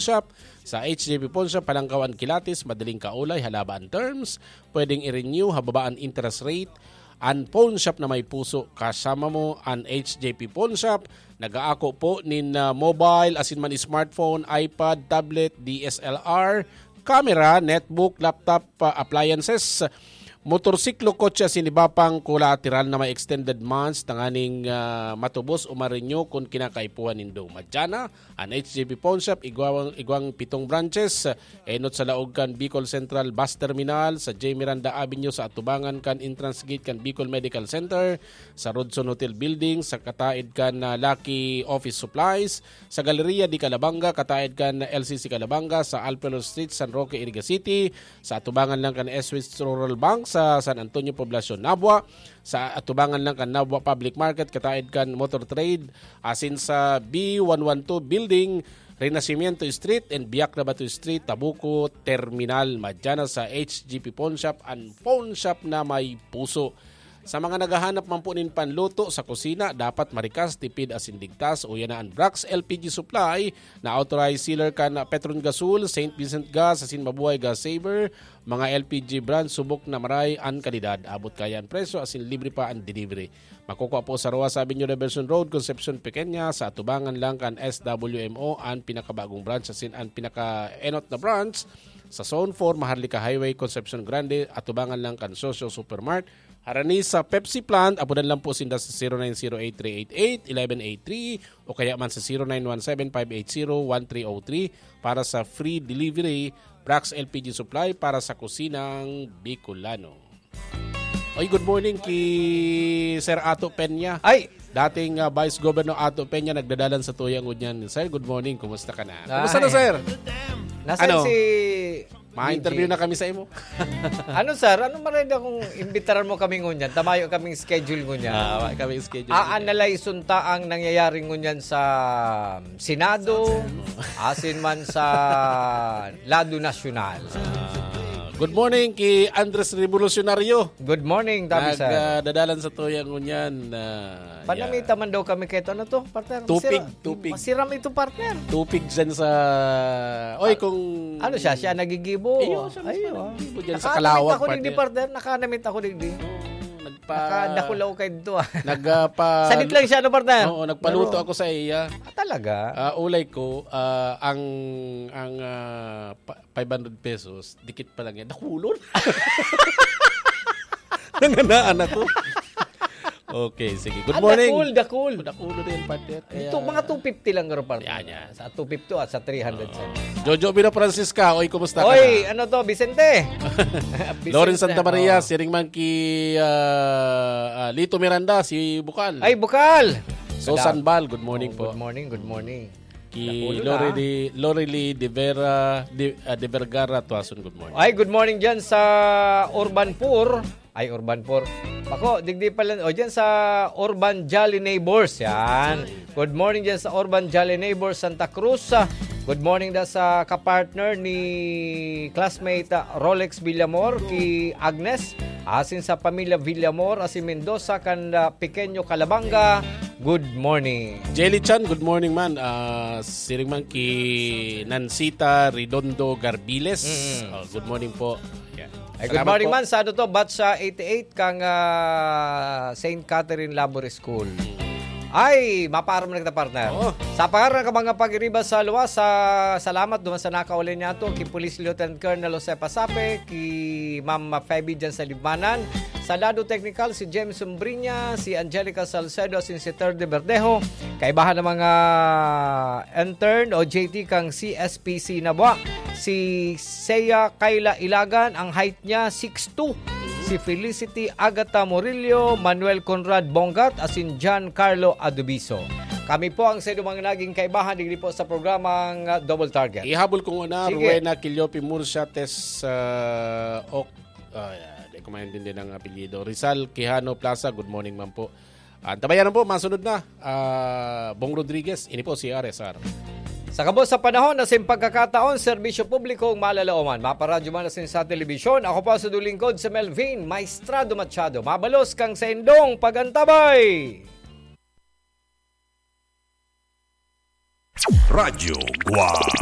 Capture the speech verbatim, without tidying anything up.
Shop. Sa H J P Pawn Shop, Halangkaw an kilatis, madaling kaulay, halaba an terms, pwedeng i-renew, hababa an interest rate. An pawn shop na may puso, kasama mo an H J P Pawn Shop. Nag-aako po nin, ah, mobile, asin man smartphone, iPad, tablet, D S L R, camera, netbook, laptop, ah, appliances, motorsiklo, kotse, asin iba pang kolateral na may extended months tanganing, ah, matubos o ma-renew kun kinakaipuhan nindo. Madyana, an H J P Pawn Shop, igwang, igwang pitong branches, enot sa laog kan Bicol Central Bus Terminal, sa J Miranda Avenue, sa atubangan kan entrance gate kan Bicol Medical Center, sa Rodson Hotel Building, sa kataed kan, ah, Lucky Office Supplies, sa Galleria de Calabanga, kataed kan L C C Calabanga, sa Alpelo Street, San Roque, Iriga City, sa atubangan lang kan S W Rural Bank, sa San Antonio Poblacion, Nabua, sa atubangan lang kan Nabua Public Market, kataed kan Motor Trade, asin sa B one one two Building, Renacimiento Street and Biak na Bato Street, Tabuco Terminal. Madyana sa H G P Pawn Shop, an pawn shop na may puso. Sa mga naghahanap man po nin panluto sa kusina, dapat marikas, tipid asin ligtas. Uya na an Brax L P G Supply na authorized sealer kan Petron Gasol, Saint Vincent Gas, asin Mabuhay Gas Saver, mga L P G brand, subok na maray an kalidad. Abot kaya an presyo asin libre pa an delivery. Makukua po sa Roa sa Avenue Reversion Road, Concepcion Pequeña, sa atubangan lang kan S W M O, an pinakabagong branch, asin an pinaka-enot na branch sa Zone four, Maharlika Highway, Concepcion Grande, atubangan lang kan Socio Supermart. Harani sa Pepsi plant, apodan lang po sinda sa zero nine zero eight three eight eight eleven eight three o kaya man sa zero nine one seven five eight zero one three oh three para sa free delivery. Brax L P G Supply para sa kusinang Bicolano. Oy, good morning ki Sir Ato Peña. Ay! Dating, ah, Vice Governor Ato Peña nagdadalan sa tuya ngunyan. Sir, good morning. Kumusta ka na? Kumusta na, Ay. Sir? Nasaan Ano? si Ma-interview Eugene? na kami sa imo. Ano, sir? Ano marenda kung imbitaran mo kami ngunyan? Tamayo kaming schedule ngunyan. Ah, wa kami schedule. A-analyze unta ang nangyayari ngunyan sa Senado, asin man sa lado nasyonal. Ah, good morning ki Andres Revolucionario. Good morning, Tabi, sir. Nagdadalan sa tuya ngunyan. Ah, Panamita yeah. man daw kami kay ito. Ano to, partner? Tupig, Masira-, tupig. masiram ito, partner. Tupig dyan sa, oy, Ah, kung ano siya? Siya nagigibo? Iyo, siya mismo Ayo, ah. nagigibo dyan sa Nakaanamit Kalawag, ako digdi, partner. partner. Nakaanamit ako digdi. Oo, nagpa- Nakadakulaw kayo dito, ah. Nagpa- Sadit lang siya, no, partner? Oo, nagpaluto Pero ako sa iya. Ah, talaga? Ah, ulay ko, ah, ang, ang, ah, pa- five hundred pesos, dikit pa lang yan. Dakulon. Nanganaan ako. Okay, sige. Good Ah, morning. dakul, dakul. Dakulon na yan, partner. Kaya Ito, mga two fifty lang, garo, partner. Yan, yan. Sa two fifty at sa three hundred sa Jojo Vino Francisca, oy, kumusta ka Oy, na? ano to, Vicente? Vicente, Lawrence Santa Maria, oh. siring man ki, ah, ah, Lito Miranda, si Bukal. Ay, Bukal! Susan Madam. Bal, good morning Oh, po. good morning, good morning. Ki Napulo na. Lorely, Lorely de Vera, de, ah, de Vergara, Tuason, good morning. Ay, good morning dyan sa Urban Poor. Ay, Urban Poor. Ako, digdi pala. O, dyan sa Urban Jolly Neighbors. Yan. Good morning dyan sa Urban Jolly Neighbors, Santa Cruz. Ah, good morning da sa kapartner ni classmate, ah, Rolex Villamor, ki Agnes. Asin sa pamilya Villamor, asin Mendoza, kan, ah, Pequeño Calabanga. Good morning. Jelly Chan, good morning man. Ah, siring man ki Nancita Redondo Garbiles. Mm. Oh, good morning po. Yan. Ay, good Salamat morning po. man sa ano to, batch sa eighty-eight kang, ah, Saint Catherine Labour School. Mm. Ay, mapaaram na kita, partner. Oo. Sa pangaran ng mga pag-iriba sa luwas, sa salamat duman sa nakauli niya to, ki Police Lieutenant Colonel Jose Pasape, ki Ma'am Feby dyan sa Libmanan. Sa lado teknikal, si James Umbriña, si Angelica Salcedo, asin si Ter de Verdejo. Kaibahan ng mga intern o J T kang C S P C Nabua. Si Seiya Kayla Ilagan, ang height niya, six two. Si Felicity Agata Murillo, Manuel Conrad Bongat, asin John Carlo Adubiso. Kami po ang sa mga naging kaibahan digdi po sa programang, ah, Double Target. Ihabol ko muna, Sige. Rowena Quillope Murcia, Tess, ah, Oc-, ah, yeah, di ko maintindihan ang apelyido. Rizal Quijano Plaza, good morning man po. Antabayanan po, masunod na, ah, Bong Rodriguez. Ini po si R S R. Sa kabos sa panahon na sin pagkakataon, serbisyo publikong malalaoman. Maparadyo man asin sa telebisyon, ako po sa dulingkod si Melvin Maestrado Machado. Mabalos kang sa indong pagantabay! Radyo Guwang.